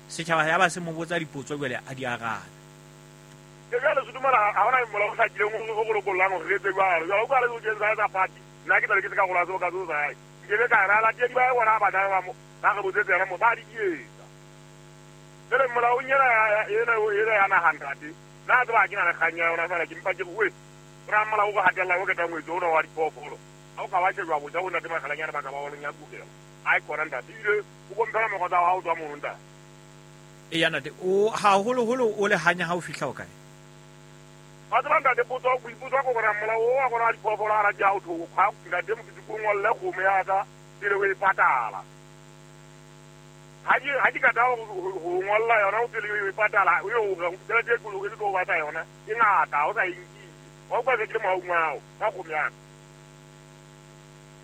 Setjhaba ya ba se mo botsa dipotso jwale a di arabe. Ke jwale se dumela ha hona molao o hlakileng o go lokollang hore re etse jwalo. Jwale o ka re o kentsa tsa party, nna ke tla be ke se karolo ya seo ka seo sa hae. Nke be ka re balatedi ba bona ba tla ba mo ba re botsetse yona mo ba di etsa. Jwale molaong ena ena ena ya naha ntate, nna tseba ha ke na le kgang ya yona fela ke mpa ke re we ra molao o re hatella o ketang ngwetsi ona wa diphoofolo. Ha o ka wa shejwa botjha bo ntate Makgalanyane ba ka ba wa lo nyakugela. Ai kona ntate, ebile o komphela mokgwa tsa hao tswa mono ntate. Eya ntate, o haholoholo o le hanya ha o fihla o kae? Wa tseba ntate, potso boipotso ko gore molao o wa gona wa diphoofolo ga rate ha o thoko kgwa ntate mokete ko ngolle kgomo ya ka pele o e patala. Ha ke kata ho ngolla yona o pele o e patala o yo re tšhelete e kolo e ke tlo batla yona e ngata o sa e nkile. Wa utlwa se ke le mohaung wa hao ka kgomo ya ka.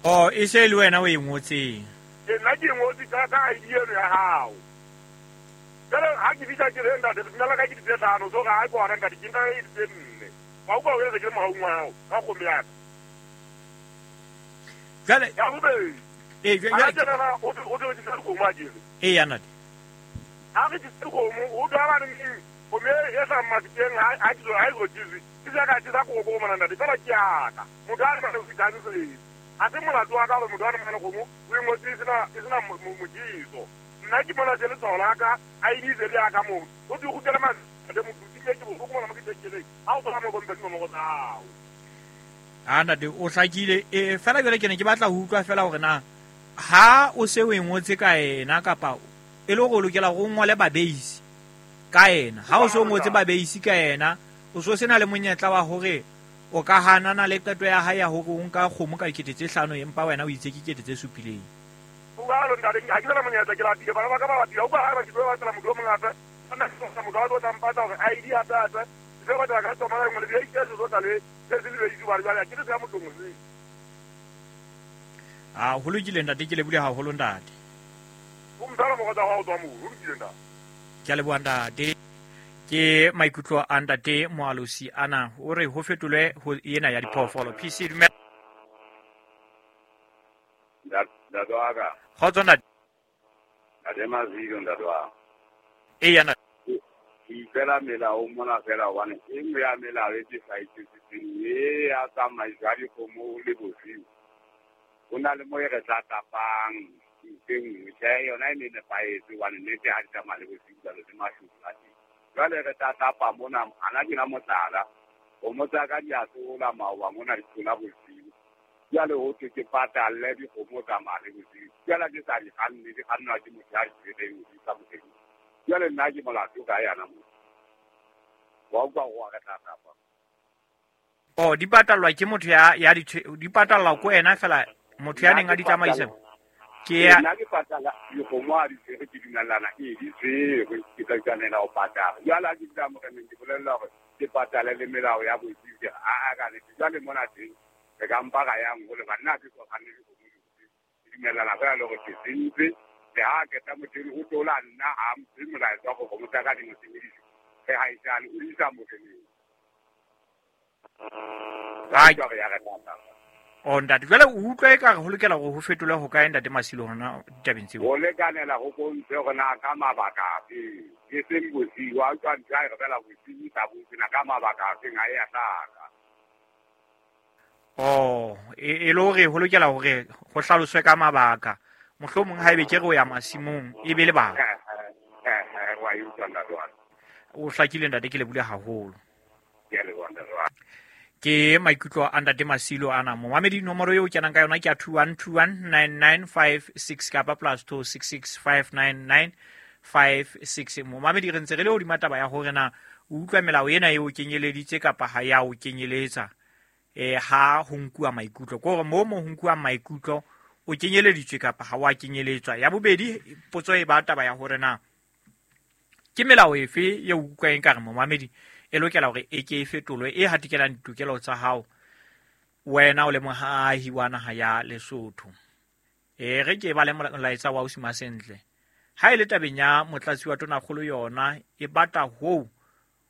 Oh, e se le wena o e ngotseng. Ke nna ke ngotse ka ID eno ya hao. Jwale ha ke fihla ke re ntate leina la ka ke di tse 5, so ga a kona ntate ke nka e di tse 4. Wa utlwa o se ke le mohaung wa hao ka kgomo ya ka. Jwale ya bobedi. Eh, jwale tjena o tlo ke dikgomo a kere. Eh, ya ntate. Ha re ke dikgomo o tla ba neng kgomo e sa mafikeng ha ke ha e rotswe. Ke ja ka ke sa go mona ntate fela ke ya ka. Motho a re mane o fitang. Ha se molato wa ka hore motho a re mane kgomo o e ngotse e sena mojiso. Nna ke mona se letshwao la ka ID se le ya ka moo. O di kgutlele mate motho ke ke bohloko mona mo ke tjekele. Ha o tswa mo komphe dinomoro tsa hao. A ntate o hlakile e fela jwale ke ne ke batla ho utlwa fela hore na ha o se o e ngotse ka ena kapa e le hore o lokela hore o ngole babeisi ka ena. Ha o se o ngotse babeisi ka ena, o so sena le monyetla wa hore o ka hanana le qeto ya hae ya hore o nka kgomo ka 5,000 empa wena o itse ke 7,000. Jwalo ntate, ha ke na monyetla ke lapile, bana ba ka ba lapile. Ha utlwa ha ba ke tlo batlela motho o mong hape. Nna ke batla motho a tlo tla mpatla hore ID hape hape. Ke tlo batla ka tsoma le ngwe le ke tlo tla le se se le itse ba jwale ke se ya motho mongwe. Ah, ho lokile ntate, ke lebule haholo ntate. O mthala mo tsa hao tswa mo, ho lokile ntate. Ke a leboha ntate. Ke maikutlo a ntate Moalosi ana o re ho fetolwe ho ena ya diphoofolo. PC dumela. Ntate wa ka. Kgotso ntate. Ntate Mazilo ntate wa ka. Eya ntate. Ke ipela melao mona fela hobane e nngwe ya melao e ke sa itsetseng e ya tsamaiso ya dikgomo le bosiu. Ho na le mo e re tla tapang ntho e nngwe. Tjhe, yona e ne nepahetse hobane nnete ha di tsamaya le bosiu jwalo le mashodu a teng. Jwale re tla tapa mona, hana ke na mohlala. Kgomo tsa ka di a tsola maoba mona di tsola bosiu. Jwale ho thwe ke patalle dikgomo tsamaya le bosiu. Jwale ke sa di kganne, di kgannwa ke motho ya di tshwereng ho di isa moreneng. Jwale nna ke molato ka yana motho. Wa utlwa hore wa re tla tapa. Oh, di patallwa ke motho ya di di patallwa ko wena fela motho ya neng a di tsamaisa. Ke ya nna ke patala dikgomo ha di tshwerwe ke dumellana e di tshwerwe ke tla tshwanela ho patala. Jwale ha ke fihla moreneng ke bolella hore ke patale le melao ya bosiu ke re a ka nnete. Jwale mona teng re ka mpa ra yang hole ba nna ke so kganne dikgomo di bosiu. Ke dumellana fela le hore ke sentse. Le ha keta motho o tlola nna ha mphe molaetsa wa hore kgomo tsa ka di mo sebedise. Re ha isane o isa moreneng. Oh ntate, jwale o utlwa ekare ho lokela hore ho fetolwe ho kae ntate Masilo hona ditabeng tseo? Ho lekanela ho bontshe hore na ka mabaka afe, e seng bosiu. Wa utlwa ntho ya e re fela bosiu sa botse na ka mabaka afeng ha e a hlaka. Oh, e le hore ho lokela hore ho hlaloswe ka mabaka. Mohlomong haebe ke re o ya masimong e be lebaka. Wa e utlwa ntate wa ka. O hlakile ntate, ke lebule haholo. Ke a leboha ntate wa ka. Ke maikutlo a ntate Masilo ana. Momamedi nomoro eo kenang ka yona ke ya 21219956 kapa plus 26659956. Momamedi re ntse re le hodima taba ya hore na o utlwa melao ena eo kenyeleditse kapa ha ya o kenyeletsa. Ha ho nkuwa maikutlo. Ke hore moo mo ho nkuwa maikutlo o kenyeleditswe kapa ha wa kenyeletswa. Ya bobedi potso e ba taba ya hore na ke melao efe eo o utlwang ekare momamedi e lokela hore e ke e fetolwe e hatikelang ditokelo tsa hao wena o le moahi wa naha ya Lesotho. Re ke ba le molaetsa wa Ausi Masentle. Ha e le tabeng ya motlatsi wa tonakgolo yona e batla hoo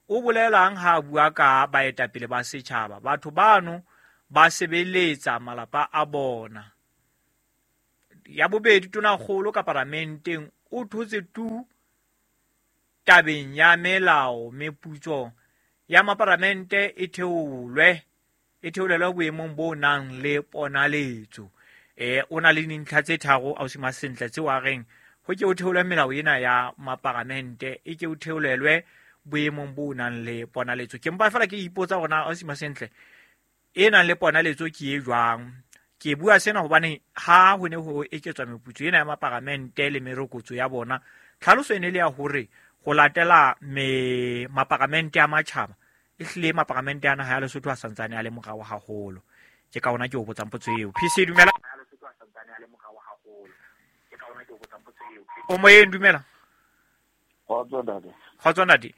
o bolelang ha a bua ka baetapele ba setjhaba. Batho bano ba sebeletsa malapa a bona. Ya bobedi tonakgolo ka paramenteng o thotse tu tabeng ya melao meputso ya maparamente e theolwe e theolelwe boemong bo nang le ponaletso. O na le dintlha tse tharo ausi Masentle tseo a reng ho ke o theolwe melao ena ya maparamente e ke o theolelwe boemong bo nang le ponaletso. Ke mpa fela ke ipotsa hore na ausi Masentle e nang le ponaletso ke e jwang. Ke bua sena hobane ha ho ne ho eketswa meputso ena ya maparamente le merokotso ya bona, tlhaloso e ne le ya hore ho latela maparamente a matjhaba, e hlile maparamente a naha ya Lesotho a santsane a le morao haholo. Ke ka ona ke o botsang potso eo. PC dumela. O moyeng, dumela. Kgotso ntate. Kgotso ntate.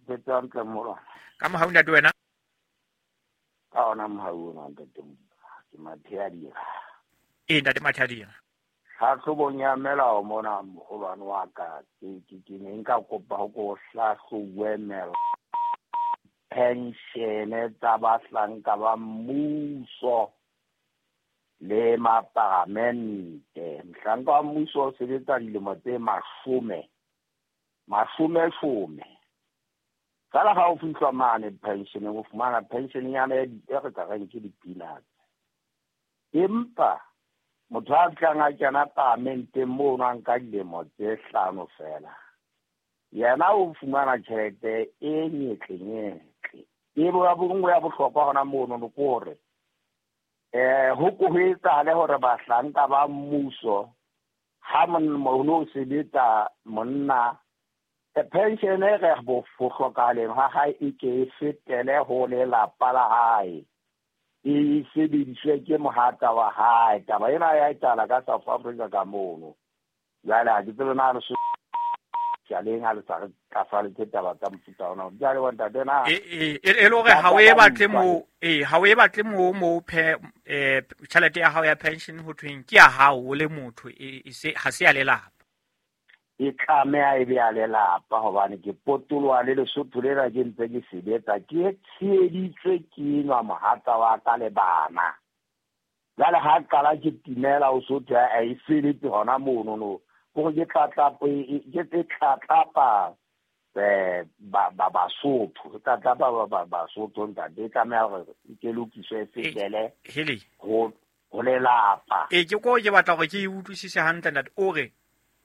Ke hantle mola. Ka mohau ntate wena? Ka ona mohau ona ntate. Ke Mathea. E ntate Mathea. Tlhahlobong ya melao mona moholwane wa ka, ke ne nka kopa ho ko hlahlobuwe melao penshene tsa bahlanka ba mmuso le maparamente. Mohlanka wa mmuso o sebetsa dilemo tse mashome mashome. Fela ha o fihlwa mane pensioneng, o fumana pension-nyana e re ka reng ke di-peanuts. Empa motho a tlang a kena paramenteng mono a nka dilemo tse 5 fela, yena o fumana tjhelete e nyetle-nyetle. E nngwe ya bohlokwa hona mono ke hore ho ko ho etsahale hore bahlanka ba mmuso ha mono o sebetsa monna, pension e re ho hlokahaleng ha hae e ke e fetele ho lelapa la hae, e sebediswe ke mohatsa wa hae. Taba ena ya etsahala ka South Africa ka mono. Jwale ha ke tsebe na le ha le sa re tlafaletse taba tsa mofuta ona. Jwale wa ntate na e le hore ha o e batle mo, ha o e batle mo tjhelete ya hao ya pension ho thweng ke ya hao o le motho, e se ha se ya lelapa. E tlameha e be ya lelapa hobane ke potoloha le Lesotho lena ke ntse ke sebetsa, ke tsheheditswe ke enwa mohatsa wa ka le bana. Jwale ha qala ke timela o Sotho a e feletse hona mono no. Hore ke tlatlapa ke tlatlapa ba Basotho, ke tlatlapa ba Basotho ntate, e tlameha hore ke lokiswe e fetele ho lelapa. Ke ko ke batla hore ke e utlwisise hantle ntate. O re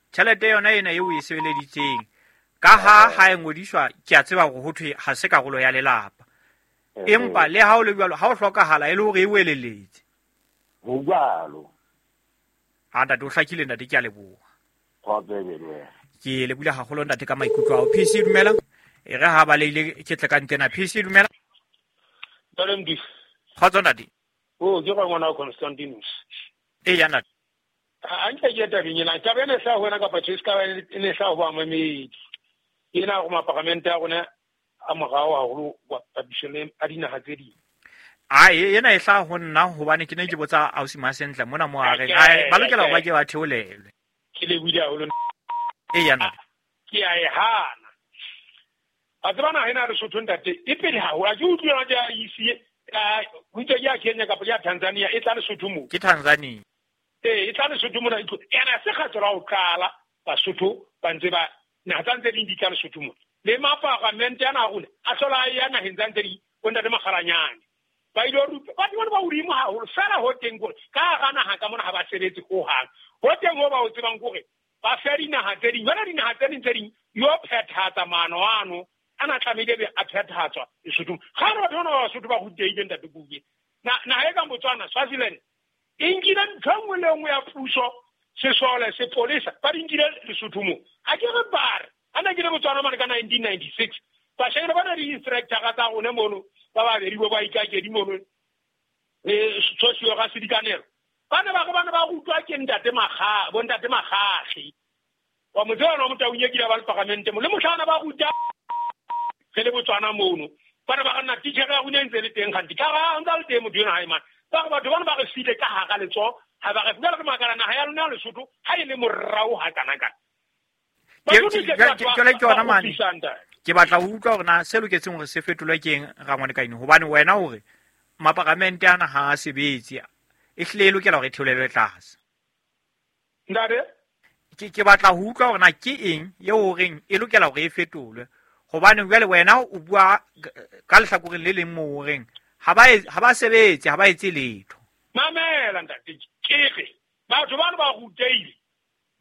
tjhelete yona ena eo e sebeleditseng ka ha e ngodiswa, ke a tseba hore ho thwe ha se karolo ya lelapa, empa le ha o le jwalo ha o hlokahala e le hore e weleletse. Ho jwalo. Ha ntate o hlakile ntate, ke a leboha. Ke lebohile haholo ntate ka maikutlo ao. PC dumela. E re ha ba leile ke tle ka ntlena. PC dumela. Ntate Mdisi. Kgotso ntate. O ke ngwana wa Constantinus. E ya ntate. A nke ke tabeng ena, taba ena e hlaha ho wena kapa tjhe, e ska ba e ne hlaha ho bamamedi. Ena hore maparamente a rona a morao haholo papisong le a dinaha tse ding. Ai ena e hlaha ho nna hobane ke ne ke botsa ausi Masentle mona mo a reng ai ba lokela hore ba ke ba theolelwe. Ke lebohile haholo. E ya ntate. Ke a e hana. A tseba naha ena ya Lesotho ntate e pele haholo. Ha ke utlwe yona ke ya IC, ho itswe ke ya Kenya kapa ke ya Tanzania, e tla Lesotho moo. Ke Tanzania. E tla Lesotho mona, e tlo. Ena se kgetho la ho qala Basotho ba ntse ba naha tsa ntse di tla Lesotho mona. Le maparamente ana a rona a hlola a ya naheng tsa ntse di bo ntate Makgalanyane. Ba ile rupa batho bona ba hodimo haholo fela ho teng kore ka hara naha ka mona ha ba sebetse hohang. Ho teng ho ba o tsebang kore ba fe dinaha tse ding. Jwale dinaha tse ding tse ding yo phethahatsa maano ano ana tlamehile be a phethahatswa Lesothong. Kgale batho bona ba Basotho ba rutehile ntate Kuke. Naha e kang Botswana, Swaziland e nkile ntho e nngwe le nngwe ya puso, sesole, sepolesa, ba di nkile Lesotho moo. Ha ke re ba re, ha ne ke le Botswana mane ka 1996, bashanyana ba na le di-instructor-a tsa rona mono, ba babedi bo ba ikakedi mono, le Tsosio ga Sedikanelo. Ba ne ba re ba ne ba rutwa ke ntate Makga, bo ntate Makgakge. Wa mo tseba wa Motaung e kile ba le paramente mo. Le mohla ba ruta re le Botswana mono. Ba ne ba re nna titjhere ya rona e ntse le teng kgante. Ka ha ntse a le teng motho enwa ha e mane. Ba re batho bana ba re file ka hara letsoho, ha ba re jwale re makala naha ya lona ya Lesotho ha e le morao ha kana-kana. Ke yona mane. Ke batla ho utlwa hore na se loketseng hore se fetolwe ke eng rangwane ka eno, hobane wena hore maparamente ana ha a sebetse, e hlile e lokela hore e theolelwe tlase. Ntate? Ke batla ho utlwa hore na ke eng eo o reng e lokela hore e fetolwe, hobane jwale wena o bua ka lehlakoreng le leng moo o reng ha ba sebetse, ha ba etse letho. Mamela ntate, ke re batho bano ba rutehile,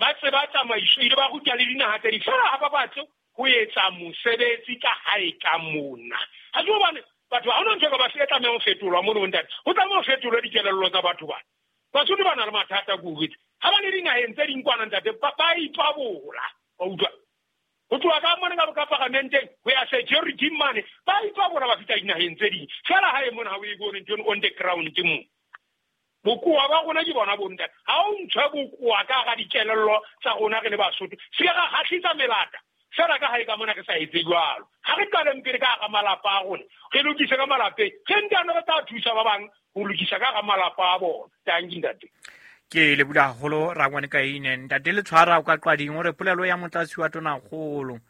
ba tseba tsamaiso, ile ba ruta le dinaha tse ding, fela ha ba batle ho etsa mosebetsi ka hae ka mona. Ha ke hobane batho ha hona ntho e ka ba se tlamehang ho fetolwa mono ntate, ho tlameha ho fetolwe dikelello tsa batho bana. Basotho ba na le mathata ko jwetse. Ha ba le dinaheng tse ding kwana ntate, ba ipabola, wa utlwa. Ho tloha ka mona ka paramenteng ho ya security mane, ba ipabola ba fihla dinaheng tse ding. Fela hae mona ha o e bone ntho eno on the ground mo. Bokowa ba rona ke bona bo ntate. Ha o ntshwe bokowa ka hara dikelello tsa rona re le Basotho, se ke ra kgahlisa melata. Fela ka hae ka mona re sa etse jwalo. Ha re qaleng pele ka hara malapa a rona, re lokise ka malapeng, re ntano re tla thusa ba bang ho lokisa ka hara malapa a bona. Tanki ntate. Ke lebula haholo rangwane ka ine. Ntate Letshwara o ka Qwading o re polelo ya motlatsi wa tonakgolo,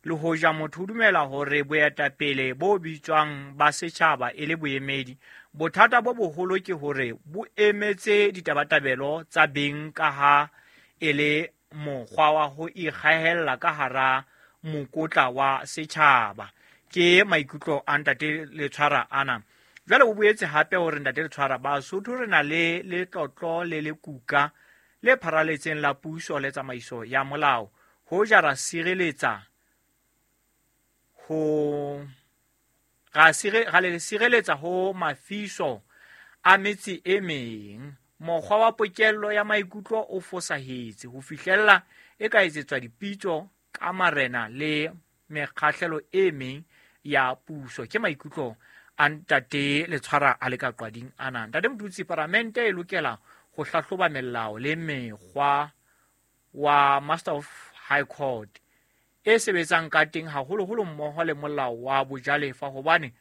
le hoja motho o dumela hore boetapele bo bitswang ba setjhaba e le boemedi, bothata bo boholo ke hore bo emetse ditabatabelo tsa beng ka ha e le mokgwa wa ho ikgahella ka hara mokotla wa setjhaba. Ke maikutlo a ntate Letshwara ana. Jwale o boetse hape hore ntate Letshwara, Basotho re na le letlotlo le lekuka le pharaletseng la puso le tsamaiso ya molao. Hoja ra sireletsa ho ra le sireletsa ho mafiso a metse e meng. Mokgwa wa pokello ya maikutlo o fosahetse ho fihlella e ka etsetswa dipitso ka marena le mekgahlelo e meng ya puso. Ke maikutlo a ntate Letshwara a le ka Qwading ana. Ntate Motutsi, paramente e lokela ho hlahloba melao le mekgwa wa Master of High Court e sebetsang ka teng, haholoholo mmoho le molao wa bojalefa, hobane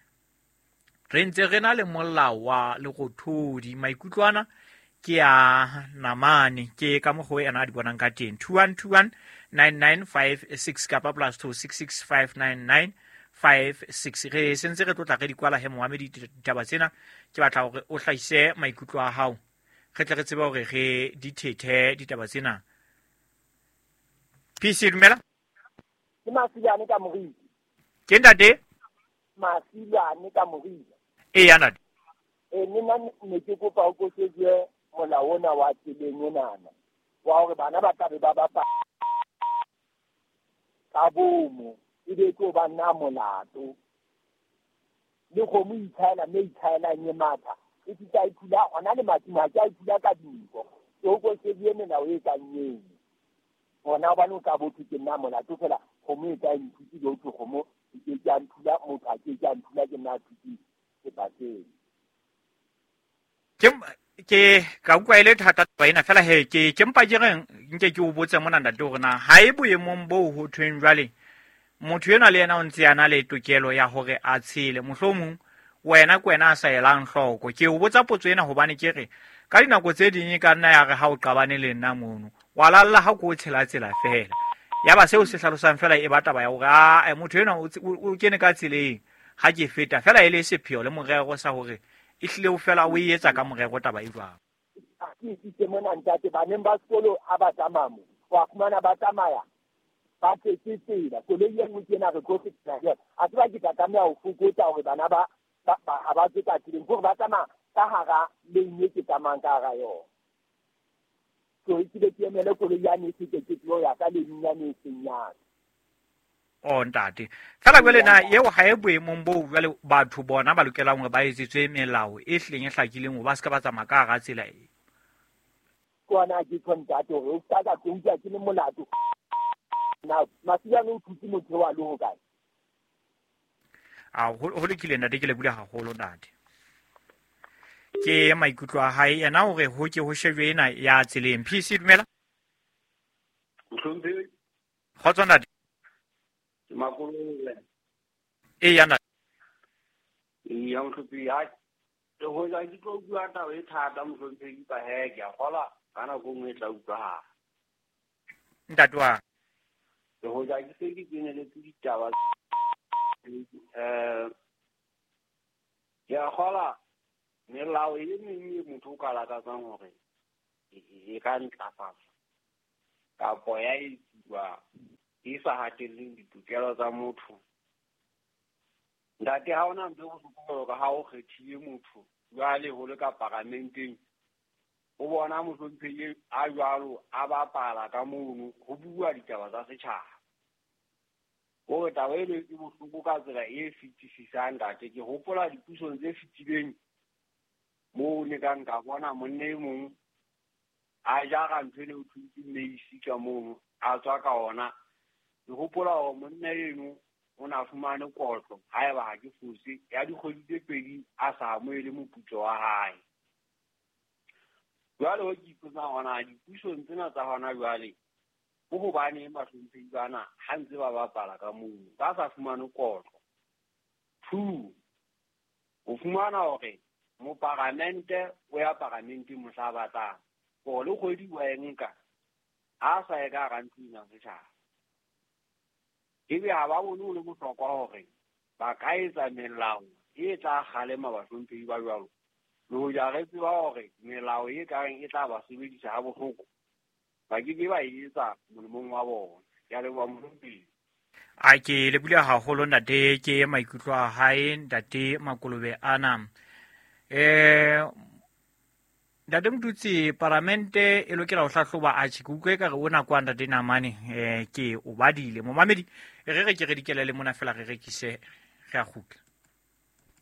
re ntse re na le molao wa lerothodi. Maikutlo ana ke a namane, ke ka mokgwa ena a di bonang ka teng. 21219956 kapa +266 599 56. Re sentse re tlotla re di kwala he moamedi ditaba tsena. Ke batla hore o hlahise maikutlo a hao, re tle re tsebe hore re di thethe ditaba tsena. PC dumela. Ke Masilwane ka Moriti. Ke ntate? Masilwane ka Moriti. Eya ntate. Nna ne ke kopa o kosetswe molao ona wa tseleng enana, wa hore bana ba tlabe ba bapala ka bomo, ebe tlo ba nna molato. Le kgomo ithaela mme ithaelang e matha, e fihla e thula hona le matimo, ha ke a e thula ka dinko. So kosetswe melao e kang eno. Hona hobane o tla bo thwe ke nna molato fela, kgomo e ka e nthutile, ho thwe kgomo e ke ke a nthula, motho a ke ke a nthula, ke nna a thutseng sebakeng. Ke ka utlwa e le thata taba ena fela he, ke mpa ke reng nke ke o botse mona ntate hore na ha e boemong boo ho thweng jwale motho enwa le yena o ntse a na le tokelo ya hore a tshele, mohlomong wena ke wena a sa elang hloko. Ke o botsa potso ena hobane ke re ka dinako tse ding e ka nna ya re ha o qabane le nna mono, wa lalla ha ko o tshela tsela fela. Ya ba seo se hlalosang fela e ba taba ya hore a motho enwa o kene ka tseleng ha ke feta fela, e le sepheo le morero sa hore e hlile o fela o e etsa ka morero taba e jwang. Ke itse mona ntate, baneng ba sekolo ha ba tsamaya mo, wa fumana ba tsamaya ba tletse tsela, koloi e nngwe ke ena re tlo fetela jwale. A tseba ke tla tlameha ho fokotsa hore bana ba ha ba tswe ka tseleng, hore ba tsamaya ka hara lane e ke tsamayang ka hara yona. So e ke ke emele koloi yane e fete, ke tlo ya ka lane yane e seng yane. O ntate, fela jwale na eo ha e boemong boo jwale batho bona ba lokelang hore ba etsetswe melao e hlileng e hlakileng hore ba se ka ba tsamaya ka hara tsela e? Ke ona ke tjho ntate hore o ska ka tlo utlwa ke le molato. Na Masilwane o thutse motho wa le hokae? A ho lokile ntate, ke lebohile haholo ntate. Ke maikutlo a hae yena hore ho ke ho shejwe ena ya tseleng. PC dumela. Mohlomphehi. Kgotso ntate. Ke Makolole. Eya ntate. Eya mohlomphehi, hai. Le hoja ke tlo bua taba e thata mohlomphehi, ba he ke a kgola ka nako e nngwe e tla utlwahala. Ntate wa. Le hoja ke se ke keneletse ditaba, ke a kgola melao e meng e motho o ka lakatsang hore e ka ntlafatswa. Kapo ya etsuwa e sa hatelleng ditokelo tsa motho. Ntate, ha hona ntho e bohloko jwalo ka ha o kgethile motho jwale ho le ka paramenteng, o bona mohlomphehi a jwalo a bapala ka mono ho bua ditaba tsa setjhaba. Hore taba eno e bohloko ka tsela e fetisisang, ntate. Ke hopola dipusong tse fetileng moo ne ka nka bona monna e mong a jara ntho eno ho thweng ke maize ka mono, a tswa ka ona. Ke hopola hore monna eno o na fumane kotlo, haeba ha ke fose, ya dikgwedi tse pedi a sa amohele moputso wa hae. Jwale ho ke ipotsang hona dipusong tsena tsa hona jwale, ke hobaneng bahlomphehi bana ha ntse ba bapala ka mono ba sa fumane kotlo? Two, o fumana hore moparamente o ya paramenteng mohla a batlang hore le kgwedi wa e nka, ha sa ye ka hara ntlo ena setjhaba. Ebe ha ba bone ho le bohlokwa hore ba ka etsa melao e tla kgalema bahlomphehi ba jwalo, le hoja re tseba hore melao e kareng e tla ba sebedisa ha bohloko, ba ke ke ba e etsa molemong wa bona. Ke a leboha mohlomphehi. A ke lebile haholo ntate, ke maikutlo a hae ntate Makolobe ana. Ntate Motutsi, paramente e lokela ho hlahloba atjhe ke utlwe ekare o nako a ntate Namane, ke o badile. Momamedi, re re ke re dikele le mona fela re rekise, re a kgutla.